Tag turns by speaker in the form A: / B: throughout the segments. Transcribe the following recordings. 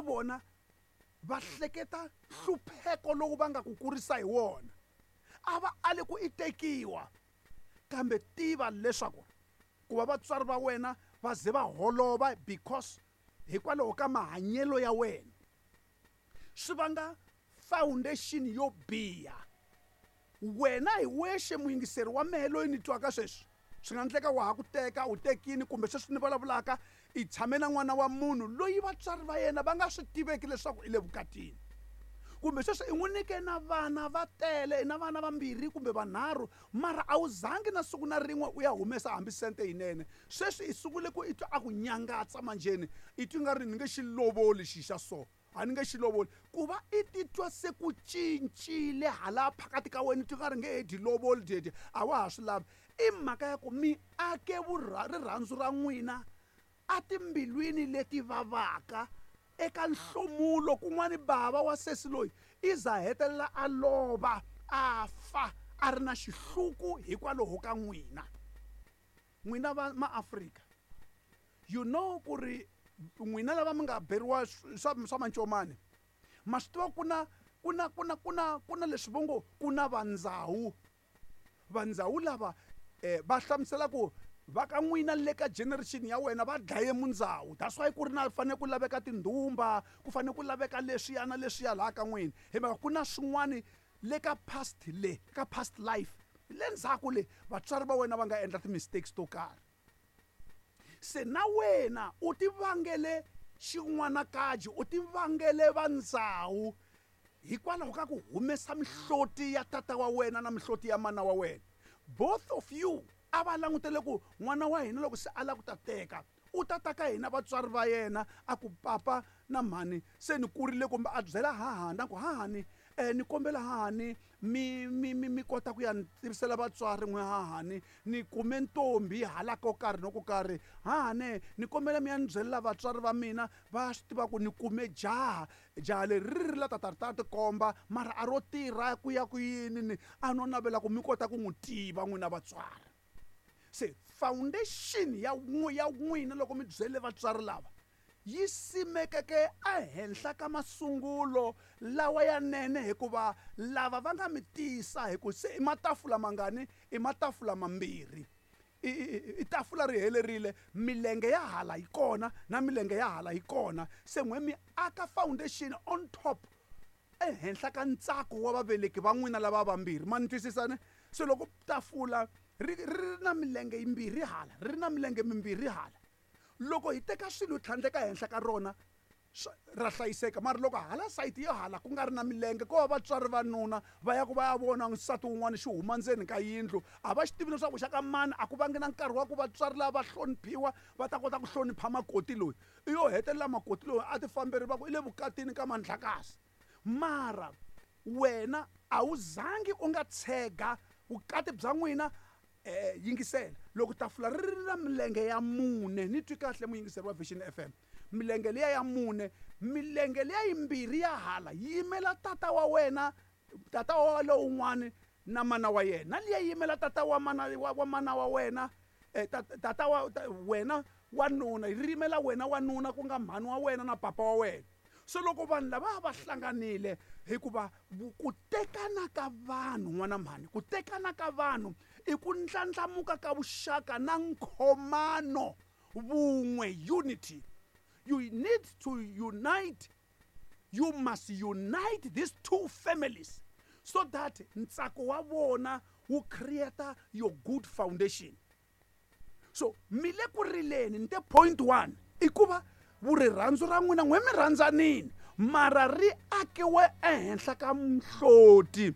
A: Eka vona va hleketa nhlupheko lowu va nga ku kurisa hi wona. A va ali ku i tekiwa, kambe tiva leswaku ku va vatswari va wena va ze va holova because hikwalaho ka mahanyelo ya wena swi vanga foundation yo biha. Wena hi wexe muyingiseri wa mehe loyi ni twaka sweswi, swi nga endleka wa ha ku teka, u tekini, kumbe sweswi ni vulavulaka i tshame na n'wana wa munhu loyi vatswari va yena va nga swi tiveki leswaku i le vukatini, kumbe sweswi i n'wi nyike na vana va tele, i na vana vambirhi kumbe vanharhu, mara a wu zangi na siku na rin'we u ya humesa hambi sente yinene. Sweswi i sungule ku i twa a ku nyangatsa manjheni, i twa nga ri ni nge xi lovoli xi xa so, a ni nge xi lovoli. Ku va i titwa se ku cincile hala phakati ka wena, i twa nga ri nge he dyi lovoli dyedye, a wa ha swi lavi. I mhaka ya ku mi ake rirhandzu ra n'wina a timbilwini leti vavaka eka nhlomulo. Kun'wani bava wa sesi loyi i za hetelela a lova, a fa a ri na xihluku hikwalaho ka n'wina. N'wina va maAfrika, you know ku ri n'wina lava mi nga beriwa swa mancomani, ma swi tiva ku na, ku na, ku na, ku na, ku na leswi vo ngo ku na vandzawu. Vandzawu lava va hlamusela ku va ka n'wina le ka generation ya wena va dlaye mundzawu. That's why ku ri na fanele ku laveka tindhumba, ku fanele ku laveka leswiya na leswiya laha ka n'wina. Hi mhaka ku na swin'wani le ka past le, ka past life, le ndzhaku le vatswari va wena va nga endla ti-mistakes to karhi. Se na wena u ti vangele xin'wanakaji, u ti vangele vandzawu hikwalaho ka ku humesa mihloti ya tata wa wena na mihloti ya mana wa wena. Both of you a va langutele ku n'wana wa hina loko se a lava ku ta teka, u ta ta ka hina vatswari va yena a ku papa na mhani se ni kurile, kumbe a byela hahani a ku hahani, ni kombela hahani mi, mi, mi, mi kota ku ya ni tivisela vatswari n'we hahani, ni kume ntombi hala ko karhi no ko karhi, hahani ni kombela mi ya ni byelela vatswari va mina va swi tiva ku ni kume jaha, jaha leri ri ri la tata ri ta tikomba mara a ro tirha ku ya ku yini, ni a no navela ku mi kota ku n'wi tiva n'wina vatswari. Se foundation ya ya n'wina loko mi byele vatswari lava yi simekeke ehenhla ka masungulo lawa ya nene, hikuva lava va nga mi tisa hi ku se i matafula mangani, i matafula mambirhi. I tafula ri helerile, milenge ya hala yi kona na milenge ya hala yi kona. Se n'we mi aka foundation on top ehenhla ka ntsako wa vaveleki va n'wina lava vambirhi. Ma ni twisisa ne? Se loko tafula ri ri na milenge yimbirhi hala, ri na milenge mimbirhi hala, loko hi teka swilo hi tlhandleka henhla ka rona ra hlayiseka. Mara loko hala sayiti yo hala ku nga ri na milenge, ko va vatswari va nuna va ya ku va ya vona nsati wun'wana xi huma ndzeni ka yindlu, a va xi tivi leswaku xa ka mani, a ku vangi na nkarhi wa ku vatswari lava va hloniphiwa va ta kota ku hlonipha makoti loyi. I yo hetelela makoti loyi a ti famberi va ku i le vukatini ka Mandlakazi. Mara wena a wu zangi u nga tshega vukati bya n'wina. Yingisela, loko tafula ri ri na milenge ya mune, ni twi kahle muyingiseri wa Vision FM, milenge liya ya mune, milenge liya yimbirhi ya hala yi yimela tata wa wena, tata wa lowun'wani na mana wa yena, na liya yi yimela tata wa mana wa, wa mana wa wena, tata wa, ta, wena wa nuna, yi yimela wena wa nuna ku nga mhani wa wena na papa wa wena. Se loko vanhu lava va hlanganile, hikuva ku tekana ka vanhu, n'wana mhani, ku tekana ka vanhu i ku ndlandlamuka ka vuxaka na nkhomano, vun'we, unity. You need to unite, you must unite these two families so that ntsako wa vona wu create your good foundation. So mi le ku rileni, ni te point 1 i ku va vurirhandzu ra n'wina n'we mi rhandzanini, mara ri akiwe ehenhla ka mihloti.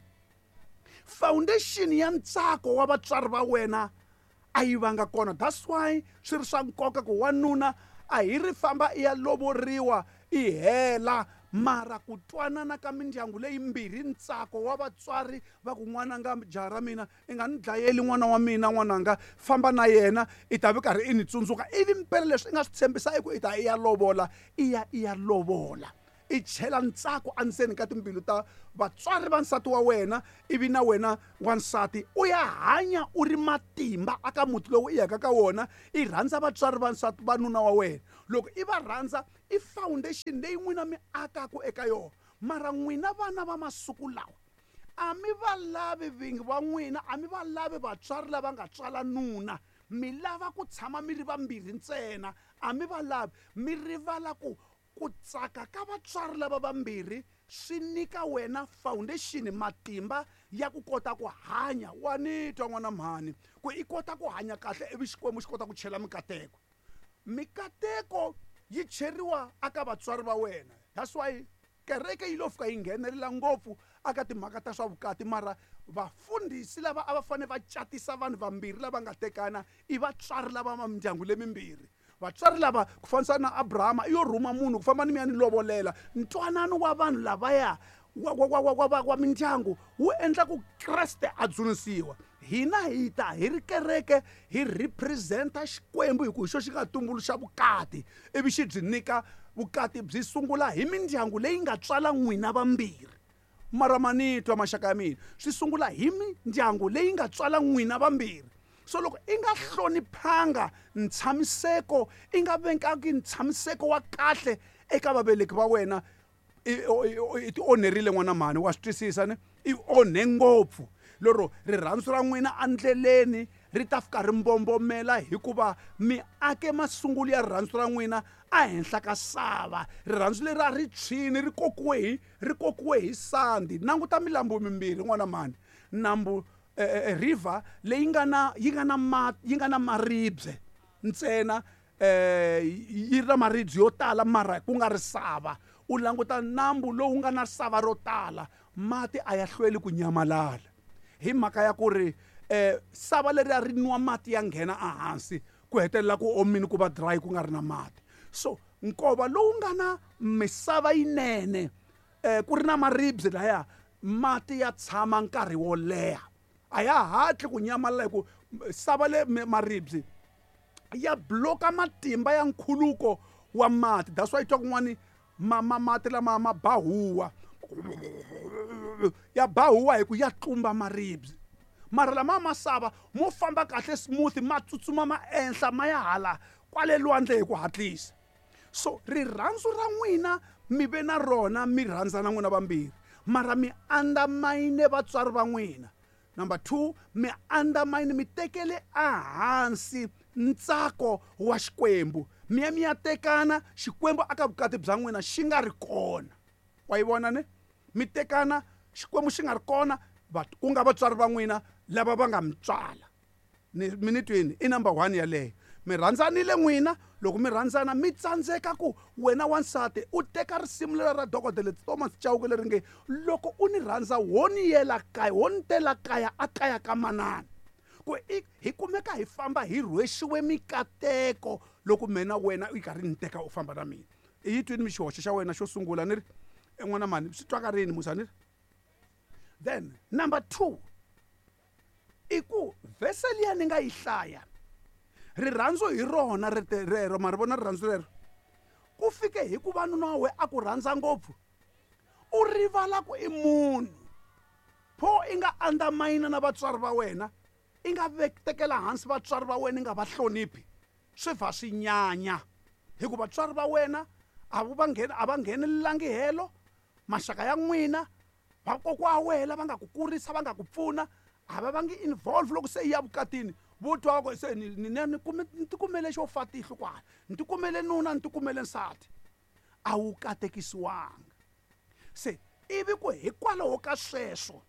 A: Foundation ya ntsako wa vatswari va wena a yi vanga kona. That's why swi ri swa nkoka ku wanuna a hi ri famba i ya lovoriwa i hela, mara ku twanana ka mindyangu leyimbirhi, ntsako wa vatswari va ku n'wananga, jaha ra mina, i nga ni dlayeli n'wana wa mina, n'wananga, famba na yena, i ta vi karhi i ni tsundzuka. Ivi mpela leswi i nga swi tshembisa i ku i ta i ya lovola, i ya i ya lovola. I chela ntsako endzeni ka timbilu ta vatswari va nsati wa wena, ivi na wena wansati u ya hanya u ri matimba aka muti lowu i yaka ka wona. I rhandza vatswari va nsati va nuna wa wena. Loko i va rhandza, i foundation leyi n'wina mi akaka eka yona. Mara n'wina vana va masiku lawa a mi va lavi vingi va n'wina, a mi va lavi vatswari lava nga tswala nuna. Mi lava ku tshama mi ri vambirhi ntsena, a mi va lavi. Mi rivala ku ku tsaka ka vatswari lava vambirhi swi nyika wena foundation, matimba ya ku kota ku hanya. Wa ni twa n'wana mhani, ku i kota ku hanya kahle ivi Xikwembu xi kota ku chela mikateko. Mikateko yi cheriwa aka vatswari va wena. That's why kereke yi lo fika yi nghenelela ngopfu aka timhaka ta swa vukati, mara vafundhisi lava a va fanele va catisa vanhu vambirhi lava nga tekana i vatswari lava va mindyangu lemimbirhi. Vatswari lava, ku fanisa na Abrahama, i yo rhuma munhu ku famba ni mi ya ni lovolela. Ntwanano wa vanhu lavaya wa mindyangu wu endla ku Kreste a dzunisiwa. Hina hi ta hi ri kereke hi representa Xikwembu, hi ku hi xo xi nga tumbuluxa vukati, ivi xi byi nyika vukati byi sungula hi mindyangu leyi nga tswala n'wina vambirhi. Mara manitwa maxaka ya mina, swi sungula hi mindyangu leyi nga tswala n'wina vambirhi. So loko i nga hloniphanga ntshamiseko, i nga vekangi ntshamiseko wa kahle eka vaveleki va wena, i ti onherile n'wana mhani. Wa swi twisisa ne? I onhe ngopfu. Lero rirhandzu ra n'wina endleleni ri ta fika ri mbombomela, hikuva mi ake masungulo ya rirhandzu ra n'wina ehenhla ka sava. Rirhandzu leri a ri tshwini, ri kokiwe hi sandi. Languta milambu mimbirhi n'wana mhani. Nambu river leyi nga na, yi nga na ma, yi nga na maribye ntsena, yi ri na maribye yo tala mara ku nga ri sava. U languta nambu lowu nga na sava ro tala, mati a ya hlweli ku nyamalala, hi mhaka ya ku ri sava leri a ri nwa mati ya nghena ehansi, ku hetelela ku omile, ku va dry, ku nga ri na mati. So nkova lowu nga na misava yinene, ku ri na maribye laya, mati ya tshama nkarhi wo leha, a ya hatli ku nyamalala, hi ku sava le maribye ya bloka matimba ya nkhuluko wa mati. That's why twa kun'wani mati lama ma ba huwa, ya ba huwa hi ku ya tlumba maribye. Mara lama masava mo famba kahle smooth, ma tsutsuma ma enhla ma ya hala kwale lwandle hi ku hatlisa. So rirhandzu ra n'wina mi ve na rona, mi rhandzana n'wina vambirhi, mara mi undermine vatswari va n'wina. Number 2, mi undermine, mi tekele ehansi ntsako wa Xikwembu. Mi ya mi ya tekana, Xikwembu aka vukati bya n'wina xi nga ri kona. Wa yi vona ne? Mi tekana, Xikwembu xi nga ri kona, ku nga vatswari va n'wina lava va nga mi tswala. Mi ni twini? I number 1 yaleyo. Mi rhandzanile n'wina, loko mi rhandzana mi tsandzeka ku wena wansati u teka risimu lera ra dokodela Thomas Chauke leri nge loko u ni rhandza wo ni yela kaya, wo ni tela kaya a kaya ka manana. Ku hi kumeka hi famba hi rhwexiwe mikateko loko mina wena u karhi ni teka u famba na mina. I yi twini mi xihoxo xa wena xo sungula ni ri n'wana mhani swi twaka rini musa ni ri. Then number 2, i ku vhese liya ni nga yi hlaya, rirhandzu hi rona rero, ma ri vona rirhandzu rero, ku fike hi ku va nuna wa wena a ku rhandza ngopfu, u rivala ku i munhu. Pho i nga undermine na vatswari va wena, i nga tekela hansi vatswari va wena, i nga va hloniphi, swi va swi nyanya. Hikuva vatswari va wena a va nghenelelangi helo, maxaka ya n'wina, vakokwa wa wena lava nga ku kurisa, va nga ku pfuna, a va vangi involve loko se i ya vukatini. Vo twa va ku se ni tikumele xo fa tihlo kwala, ni tikumele nuna, ni tikumele nsati, a wu katekisiwanga. Se ivi ku hikwalaho ka sweswo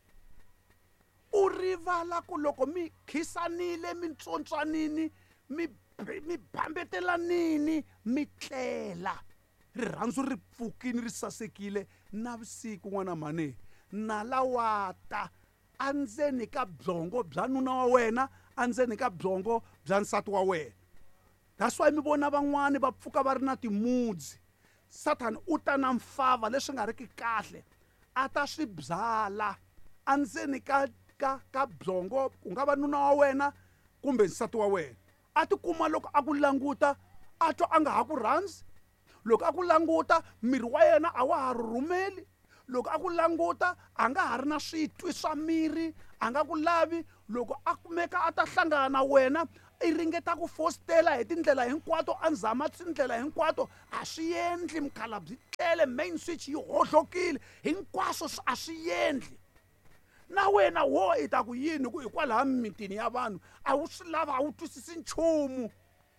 A: u rivala ku loko mi khisanile, mi ntswontswanini, mi bambetelanini, mi tlela, rirhandzu ri pfukini, ri sasekile navusiku n'wana mhani, nala wa ta endzeni ka byongo bya nuna wa wena, endzeni ka byongo bya nsati wa wena. That's why mi vona van'wani va pfuka va ri na timudzi. Satan u ta na mfava leswi nga riki kahle, a ta swi byala endzeni ka byongo, ku nga va nuna wa wena kumbe nsati wa wena. A tikuma loko a ku languta a twa a nga ha ku rhandzi. Loko a ku languta miri wa yena a wa ha rhurhumeli. Loko a ku languta a nga ha ri na switwi swa miri, a nga ku lavi. Loko a kumeka a ta hlangana na wena, i ringeta ku fositela hi tindlela hinkwato, a zama tindlela hinkwato, a swi endli. Mukhalabye tlele, main switch yi hohlokile, hinkwaswo a swi endli. Na wena wo i ta ku yini ku hikwalaha mimitini ya vanhu a wu swi lava, a wu twisisi nchumu.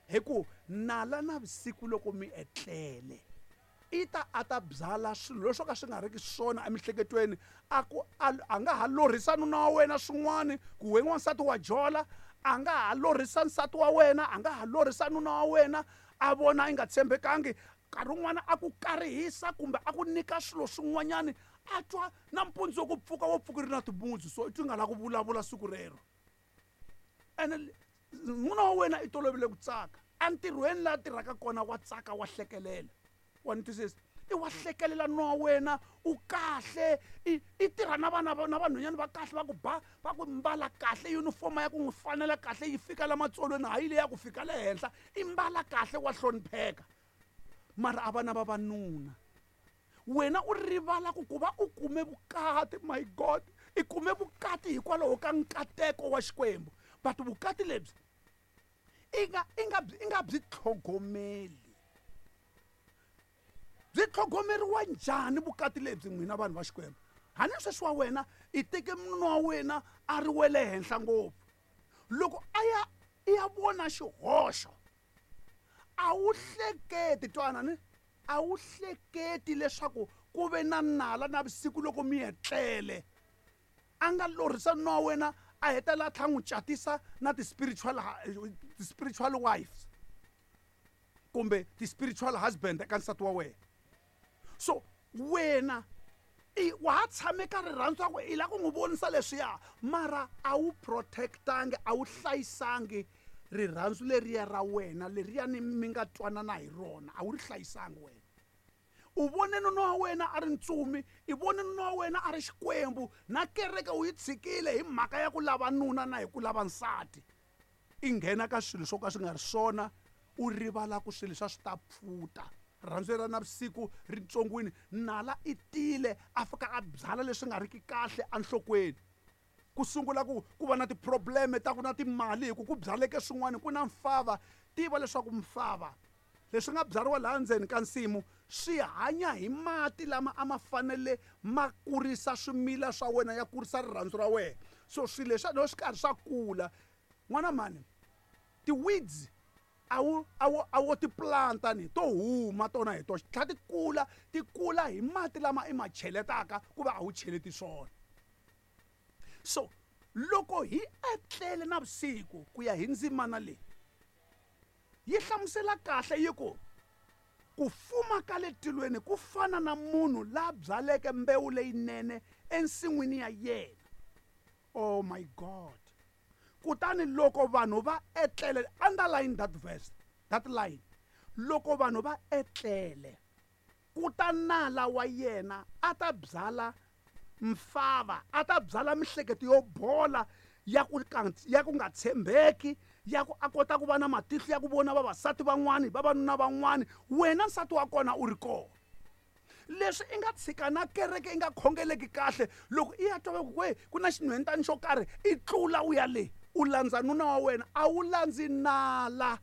A: Hi ku nala navusiku loko mi etlele, i ta a ta byala swilo leswo ka swi nga riki swona emiehleketweni. A ku a nga ha lorhisa nuna wa wena swin'wana ku we n'wansati wa jola, a nga ha lorhisa nsati wa wena, a nga ha lorhisa nuna wa wena, a vona i nga tshembekangi. Nkarhi wun'wana a ku karihisa kumbe a ku nyika swilo swin'wanyani, a twa nampundzu wo ku pfuka wo pfuka ri na timundzu, so i twi nga la ku vulavula siku rero. Ene nuna wa wena i tolovele ku tsaka entirhweni laha tirhaka kona, wa tsaka, wa hlekelela. Wa ni twisisa? I wa hlekelela nuna wa wena, u kahle, i tirha na vana na vanhwanyana va kahle, va ku ba, va ku mbala kahle, uniform ya ku n'wi fanela kahle, yi fika la matsolweni, hayi leyi ya ku fika le henhla, i mbala kahle, wa hlonipheka. Mara a vana vavanuna, wena u rivala ku ku va u kume vukati. My God, i kume vukati hikwalaho ka nkateko wa Xikwembu, but vukati lebyi i nga byi tlhogomeli. Byi tlhogomeriwa njhani vukati lebyi, n'wina vanhu va Xikwembu? Hani sweswi wa wena i teke nuna wa wena a ri wele henhla ngopfu, loko a ya i ya vona xihoxo a wu hleketi, twana ni, a wu hleketi leswaku ku ve na nala navusiku loko mi etlele, a nga lorhisa nuna wa wena, a hetelela a tlhela n'wi catisa na ti-spiritual wives kumbe ti-spiritual husband eka nsati wa wena. So wena i wa ha tshame ka rirhandzu ra ku i lava ku n'wi vonisa leswiya, mara a wu protectangi, a wu hlayisangi rirhandzu leriya ra wena, leriya ni mi nga twanana hi rona, a wu ri hlayisangi. Wena u vone nuna wa wena a ri ntsumi, i vone nuna wa wena a ri Xikwembu, na kereke u yi tshikile hi mhaka ya ku lava nuna na hi ku lava nsati. I nghena ka swilo swo ka swi nga ri swona, u rivala ku swilo leswi a swi ta pfuta. Rirhandzu ra navusiku ri ntsongwini, nala i tile a fika a byala leswi nga riki kahle enhlokweni. Ku sungula ku va na ti-problem ta ku na timali, hi ku ku byaleke swin'wana, ku na mfava. Tiva leswaku mfava leswi nga byariwa laha ndzeni ka nsimu swi hanya hi mati lama a ma fanele ma kurisa swimila swa wena, ya kurisa rirhandzu ra wena. So swilo leswi loko swi karhi swa kula, n'wana mhani, ti-weeds a wu ti planta ni to huma tona hi toxe, tlhela ti kula, ti kula hi mati lama i ma cheletaka, ku va a wu cheleti swona. So loko hi etlele navusiku, ku ya hi ndzimana leyi yi hlamusela kahle, yi ku ku fuma ka le tilweni ku fana na munhu la byaleke mbewu leyinene ensin'wini ya yena. Oh my God. Kutani loko vanhu va etlele, underline that verse, that line, loko vanhu va etlele, ku ta nala wa yena a ta byala mfava, a ta byala mihleketo yo bola, ya ku nga tshembeki, ya ku a kota ku va na matihlo ya ku vona vavasati van'wani, vavanuna van'wani, wena nsati wa kona u ri kona. Leswi i nga tshika na kereke i nga khongeleki kahle, loko i ya twa va ku we ku na xinhwentani xo karhi, i tlula u ya le, u landza nuna wa wena, a wu landzi nala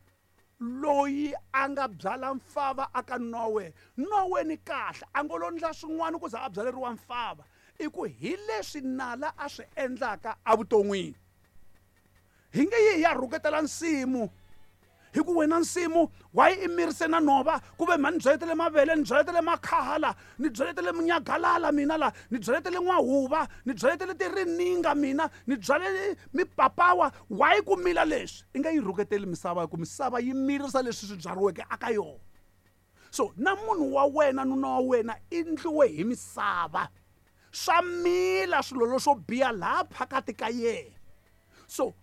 A: loyi a nga byala mfava aka nuna wa wena. Nuna wa wena kahle a ngo lo ndla swin'wana ku za a byaleriwa mfava, i ku hi leswi nala a swi endlaka evuton'wini. Hi nge yi hi ya rhuketela nsimu, hi ku wena nsimu wa yi mirise na nhova, ku ve mhani ni byaletele mavele, ni byaletele makhala, ni byaletele munyagalala mina la, ni byaletele n'wahuva, ni byaletele tirininga mina, ni byalele mipapawa, wa yi ku mila leswi. I nga yi rhuketeli misava, hi ku misava yi mirisa leswi swi byariweke aka yona. So na munhu wa wena, nuna wa wena, i ndliwe hi misava, swa mila swilo leswo biha laha phakati ka yena. So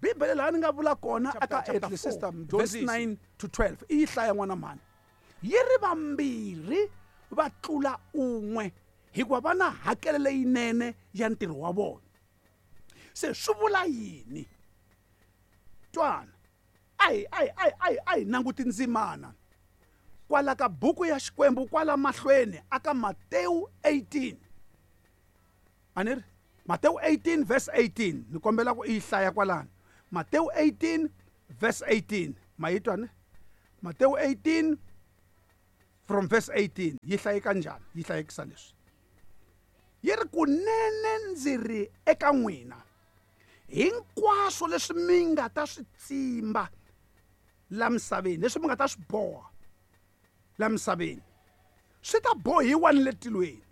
A: Bibele laha ni nga vula kona eka Ecclesiastes verse 9 to 12, i yi hlaya n'wana mhani, yi ri vambirhi va tlula un'we, hikuva va na hakelo leyinene ya ntirho wa vona. Se swi vula yini? Twana, a hi nanguti ndzimana. Kwala ka buku ya Xikwembu kwala mahlweni aka Matewu 18. A ni ri Matewu 18 verse 18, ni kombela ku i yi hlaya kwalano. Matewu 18 verse 18, ma yi twa ne? Matewu 18 from verse 18 yi hlayeka njhani? Yi hlayekisa leswi, yi ri: kunene ndzi ri eka n'wina, hinkwaswo leswi mi nga ta swi tsimba la misaveni, leswi mi nga ta swi boha la misaveni, swi ta bohiwa ni le tilweni,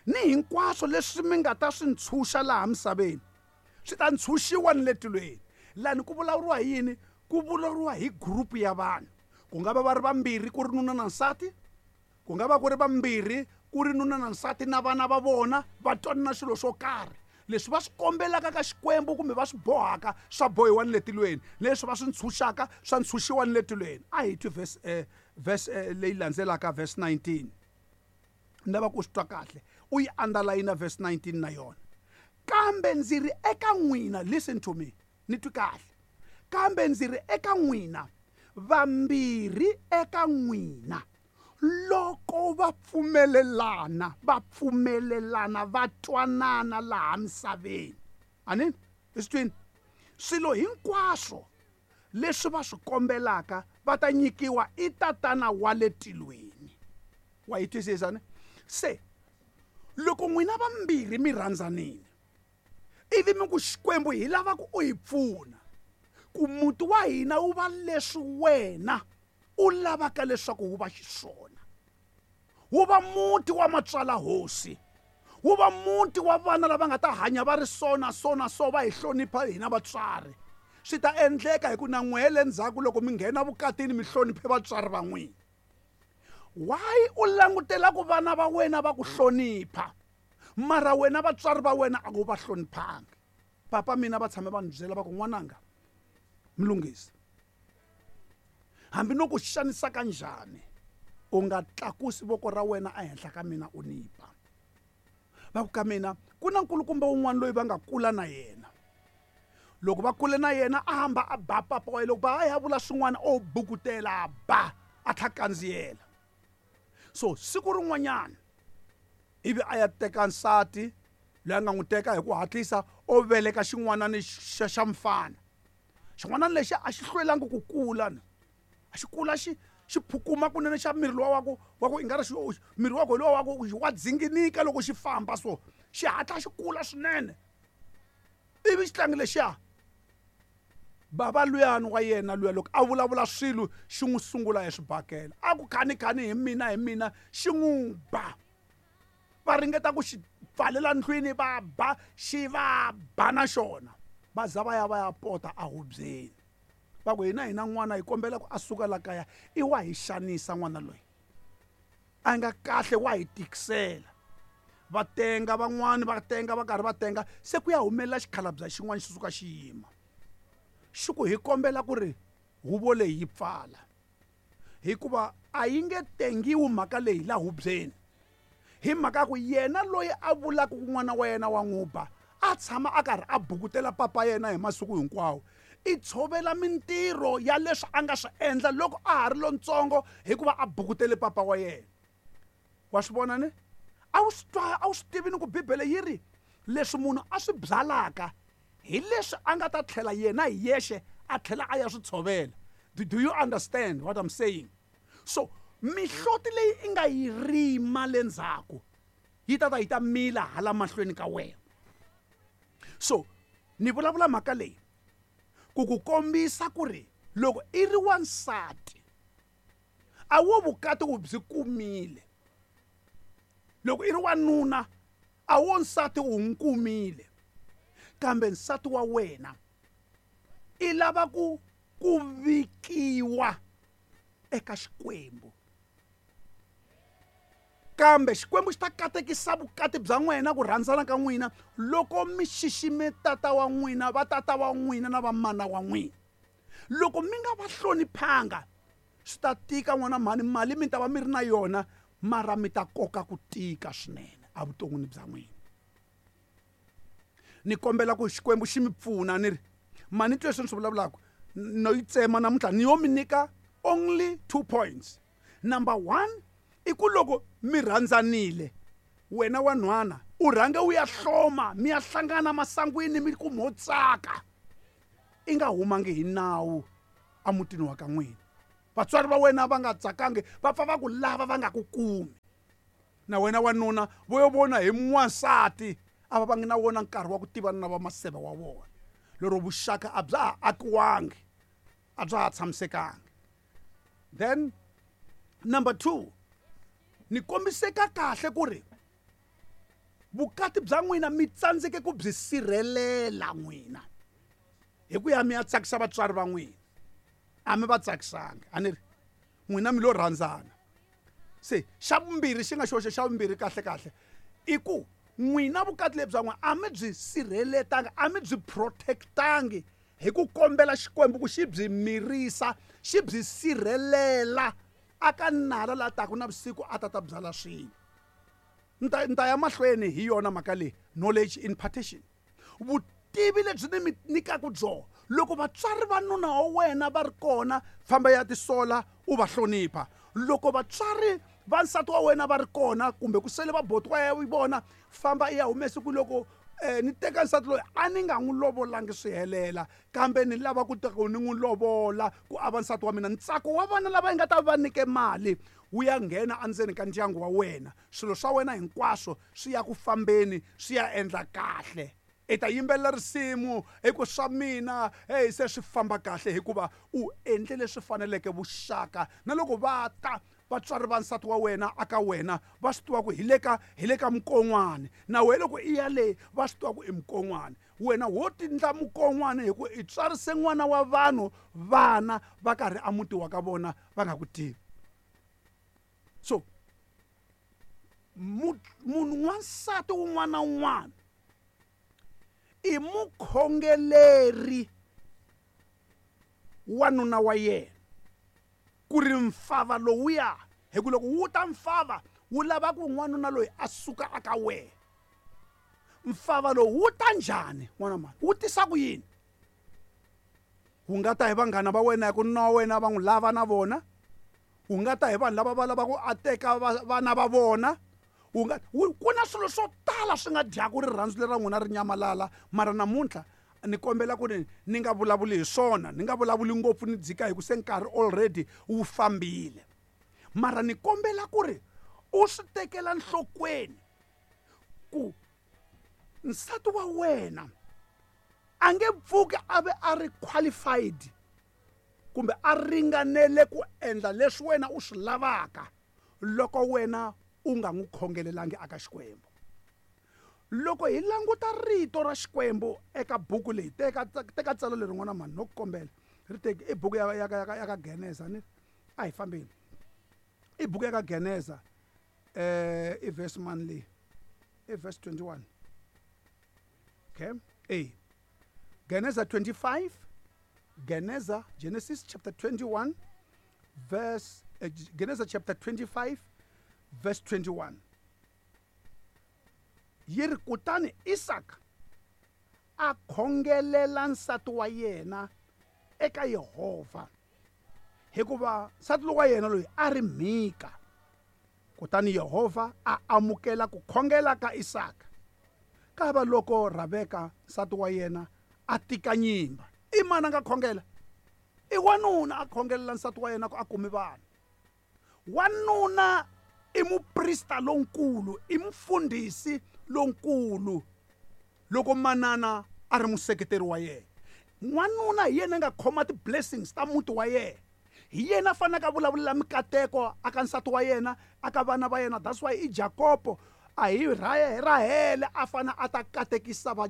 A: ni hinkwaswo leswi mi nga ta swi ntshunxa laha misaveni, swi ta ntshunxiwa ni le tilweni. Lani ku vulavuriwa hi yini? Ku vulavuriwa hi group ya vanhu. Ku nga va va ri vambirhi, ku ri nuna na nsati, ku nga va ku ri vambirhi, ku ri nuna na nsati na vana va vona, va twanana swilo swo karhi. Leswi va swi kombelaka ka Xikwembu kumbe va swi bohaka, swa bohiwa ni le tilweni, leswi va swi ntshunxaka, swa ntshunxiwa ni le tilweni. A hi twi verse leyi landzelaka, verse 19. Ni lava ku swi twa kahle, u yi underline verse 19 na yona. Kambe ndzi ri eka n'wina, listen to me, ni twi kahle, kambe ndzi ri eka n'wina, vambirhi eka n'wina loko va pfumelelana, va pfumelelana, va twanana laha misaveni, ani i swi twini, swilo hinkwaswo leswi va swi kombelaka va ta nyikiwa i Tatana wa le tilweni. Wa yi twisisa ne? Se loko n'wina vambirhi mi rhandzanile, ivi mi ku, Xikwembu, hi lava ku u hi pfuna ku muti wa hina wu va leswi wena u lavaka leswaku wu va xiswona, wu va muti wa matswala hosi, wu va muti wa vana lava nga ta hanya va ri so na so na so, va hi hlonipha hina vatswari, swi ta endleka. Hi ku na n'wehe le ndzhaku, loko mi nghena vukatini, mi hloniphe vatswari va n'wina. Why u langutela ku vana va wena va ku hlonipha, mara wena vatswari va wena a ku va hloniphanga? Papa mina va tshame va ni byela, va ku, n'wananga Mlungisi, hambi no ku xanisa ka njhani, u nga tlakusi voko ra wena ehenhla ka mina u ni ba. Va ku ka mina ku na nkulukumba wun'wana loyi va nga kula na yena. Loko va kule na yena, a hamba a ba papa wa yena. Loko ba a ya vula swin'wana, o bukutela, a ba, a tlha kandziyela. So siku rin'wanyana ivi a ya teka nsati loyi a nga n'wi teka hi ku hatlisa, o veleka xin'wanani xa mfana. Xin'wanani lexi a xi hlwelangi ku kula, a xi kula, xi xi phukuma kunene, xa miri luwa wa ku i nga ri miri wa ku luwa wa ku wa dzinginika loko xi famba, so xi hatla xi kula swinene. Ivi xitlangi lexiya, bava luyani wa yena luya, loko a vulavula swilo, xi n'wi sungula hi swibakela, a ku khani khani hi mina, hi mina, xi n'wi ba. Va ringeta ku xi pfalela ndlwini, va ba, xi va ba na xona, va za va ya va ya pota ahubyeni. Va ku, hina n'wana hi kombela ku a suka la kaya, i wa hi xanisa n'wana loyi, a nga kahle, wa hi tikisela. Va tenga van'wani, va tenga, va karhi va tenga, se ku ya humelela xikhalabya xin'wana, xi suka xi yima, xi ku, hi kombela ku ri huvo leyi yi pfala, hikuva a yi nge tengiwi mhaka leyi la hubyeni, hi mhaka ku yena loyi a vulaka ku n'wana wa yena wa n'wi ba, a tshama a karhi a bukutela papa yena hi masiku hinkwawo, i tshovela mintirho ya leswi a nga swi endla loko a ha ri lontsongo, hikuva a bukutele papa wa yena. Wa swi vona ne? A wu swi twa, a wu swi tivi ni ku Bibele yi ri leswi munhu a swi byalaka hi leswi a nga ta tlhela yena hi yexe a tlhela a ya swi tshovela. Do you understand what I'm saying? So mihloti leyi i nga yi rima le ndzhaku yi ta ta yi ta mila hala mahlweni ka wena. So ni vulavula mhaka leyi ku ku kombisa ku ri loko i ri wansati, a wo vukati u byi kumile. Loko i ri wanuna, a wo nsati u n'wi kumile, kambe nsati wa wena i lava ku ku vikiwa eka Xikwembu. Kambe Xikwembu xi ta katekisa vukati bya n'wina, ku rhandzana ka n'wina, loko mi xixime tata wa n'wina, va tata wa n'wina na vamana wa n'wina. Loko mi nga va hloniphanga, swi ta tika, n'wana mhani. Mali mi ta va mi ri na yona, mara mi ta koka ku tika swinene evuton'wini bya n'wina. Ni kombela ku Xikwembu xi mi pfuna. Ni ri mani twe leswi ni swi vulavulaka, no yi tsema namuntlha, ni yo mi nyika only 2 points. Number 1 i ku loko mi rhandzanile, wena wanhwana u rhange u ya hloma, mi ya hlangana masangwini mi ku mo tsaka, i nga humangi hi nawu emutini wa ka n'wina. Vatswari va wena va nga tsakangi, va pfa va ku lava va nga ku kumi. Na wena wanuna vo yo vona hi n'wansati, a va vangi na wona nkarhi wa ku tivana na vamaseve wa vona. Lero vuxaka a bya ha akiwangi, a bya ha tshamisekangi. Then number 2, ni kombiseka kahle ku ri vukati bya n'wina mi tsandzeke ku byi sirhelela n'wina hi ku ya mi ya tsakisa vatswari va n'wina. A mi va tsakisangi, a ni ri n'wina mi lo rhandzana. Se xa vumbirhi xi nga xoxe, xa vumbirhi kahle kahle i ku n'wina vukati lebyi bya n'wina a mi byi sirheletangi, a mi byi protectangi hi ku kombela Xikwembu ku xi byi mirisa, xi byi sirhelela aka nala la taka na vusiku a ta ta byala swilo. Ni ta ya mahlweni hi yona mhaka leyi, knowledge impartation. Vutivi lebyi ni mi nyikaka byona, loko vatswari va nuna wa wena va ri kona, famba ya tisola u va hlonipha. Loko vatswari va nsati wa wena va ri kona, kumbe ku sele va boti wa vona, famba i ya humesa ku loko ni teka nsati loyi a ni nga n'wi lovolangi swi helela, kambe ni lava ku teka ni n'wi lovola ku a va nsati wa mina. Ntsako wa vana lava yi nga ta va nyike mali wu ya nghena endzeni ka ndyangu wa wena, swilo swa wena hinkwaswo swi ya ku fambeni, swi ya endla kahle. I ta yimbelela risimu hi ku swa mina, hey, se swi famba kahle, hikuva u endle leswi faneleke vuxaka. Na loko va ta vatswari va nsati wa wena aka wena, va swi tiva ku hi le ka mukon'wana. Na wena loko i ya le, va swi tiva ku i mukon'wana. Wena wo tindla mukon'wana hi ku i tswarise n'wana wa vanhu, vana va karhi a muti wa ka vona va nga ku tivi. So munhu wansati wun'wana na wun'wana i mukhongeleri wa nuna wa yena, ku ri mfava lowuya, hi ku loko wu ta mfava wu lava ku n'wanuna loyi a suka aka wena. Mfava lowu wu ta njhani n'wana mhani? Wu tisa ku yini? Wu nga ta hi vanghana va wena hi ku nuna wa wena va n'wi lava na vona, wu nga ta hi vanhu lava va lavaka ku a teka vana va vona, wu nga, wu, ku na swilo swo tala swi nga dyaka rirhandzu leri ra n'wina ri nyamalala. Mara namuntlha ni kombela ku ri ni nga vulavuli hi swona, ni nga vulavuli ngopfu, ni dzika hi ku se nkarhi already wu fambile. Mara ni kombela ku ri u swi tekela nhlokweni ku nsati wa wena a nge pfuki a ve a ri qualified kumbe a ringanele ku endla leswi wena u swi lavaka loko wena u nga n'wi khongelelangi aka Xikwembu. Loko hi languta rito ra Xikwembu eka buku leyi, teka tsalwa leri n'wana mhani, no ku kombela, ri teki i buku ya ka Geneza, ni a hi fambeni. I buku ya ka Geneza, i verse mani leyi? I verse 21. Okay? Geneza 25, Geneza, Genesis chapter 21, verse, Genesis chapter 25, verse 21. Yi ri, kutani Isaka a khongelela nsati wa yena eka Yehovha, hikuva nsati lowa yena loyi a ri mhika. Kutani Yehovha a amukela ku khongela ka Isaka. Kava loko Rebeka nsati wa yena a tika nyimba, i mani a nga khongela? I wanuna a khongelela nsati wa yena ku a kumi vana. Wanuna i muprista lonkulu, i mufundhisi lonkulu loko manana a ri museketeri wa yena. N'wanuna hi yena a nga khoma ti-blessings ta muti wa yena. Hi yena a faneleke a vulavulela mikateko aka nsati wa yena, aka vana va yena. That's why i Jakobo a hi Rahele a fanele a ta katekisa va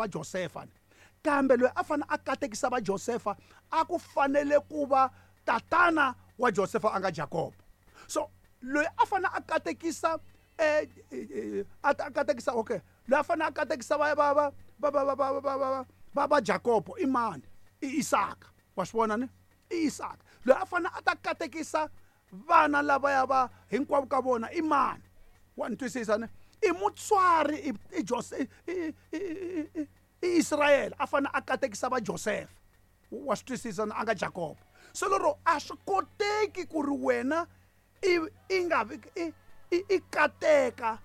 A: Josefa. Kambe loyi a fanele a katekisa va Josefa a ku fanele ku va tatana wa Josefa a nga Jakobo. So loyi a fanele a katekisa, a ta katekisa, okay, loyi a fanele a katekisa va Jakobo i mani? I Isaka. Wa swi vona ni? I Isaka. Loyi a fanele a ta katekisa vana lavaya va hinkwavo ka vona i mani? Wa ni twisisa ni? I mutswari, i Jose, i Israyele a fanele a katekisa va Josefa. Wa swi twisisa ni? A nga Jakobo. So lero a swi koteki ku ri wena I nga vi i kateka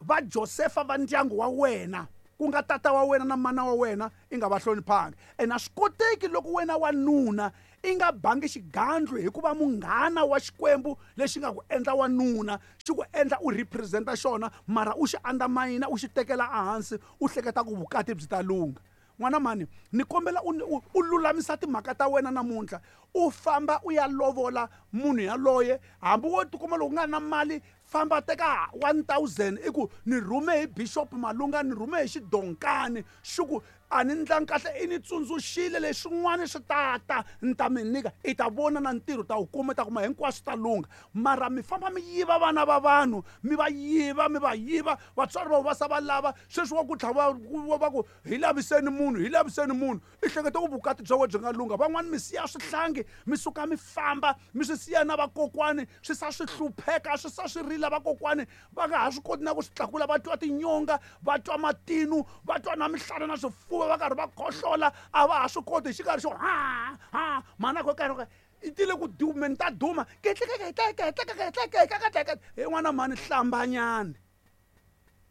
A: va Josefa va ndyangu wa wena, ku nga tata wa wena na mana wa wena, i nga va hloniphangi. Ene a swi koteki loko wena wanuna i nga bangi xigandlu hikuva munghana wa Xikwembu lexi nga ku endla wanuna, xi ku endla u representa xona, mara u xi andamayina, u xi tekela ehansi, u hleketa ku vukati byi ta lungha. N'wana mhani, ni kombela u lulamisa timhaka ta wena namuntlha, u famba u ya lovola munhu yaloye. Hambi wo tikuma loko u nga na mali, famba teka 1000 i ku ni rhume hi Bishop Malunga, ni rhume hi xidonkani, xi ku a ni ndlangi kahle, i ni tsundzuxile leswin'wana swi tata, ni ta mi nyika, i ta vona na ntirho ta wu kuma, i ta kuma hinkwaswo ta lungha. Mara mi famba mi yiva vana va vanhu, mi va yiva, mi va yiva, vatswari va va sa va lava. Sweswi wa ku tlhava va ku hi laviseni munhu, hi laviseni munhu, i hleketa ku vukati bya wena byi nga lungha. Van'wani mi siya swihlangi, mi suka mi famba, mi swi siya na vakokwani, swi sa swi hlupheka, swi sa swi rila vakokwani, va nga ha swi koti na ku swi tlakula, va twa tinyonga, va twa matinu, va twa na mihlana na swifuva, va karhi va khohlola, a va ha swi koti hi xikarhi xo ha ha mhana ko karhi i tile ku dumeni ta duma he n'wana mhani, hlambanyani.